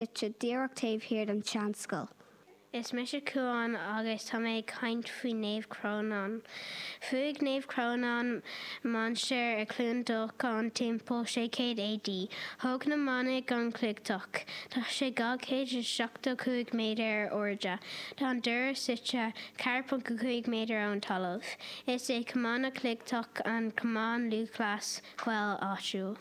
Suite díreach taobh thiar den tseanscoil. Is mise Cuán agus tá mé ag caint faoi Naomh Crónán. Bhuaigh Naomh Crónán mainistir i Cluain Dolcáin timpeall 600 AD. Thóg na manaigh an cloigtheach. Tá sé 275 méadar ar airde. Tá an doras suite 4.5 méadar ón talamh. Is é Cumann na gCloigtheach an cumann lúthchleas Gael áitiúil.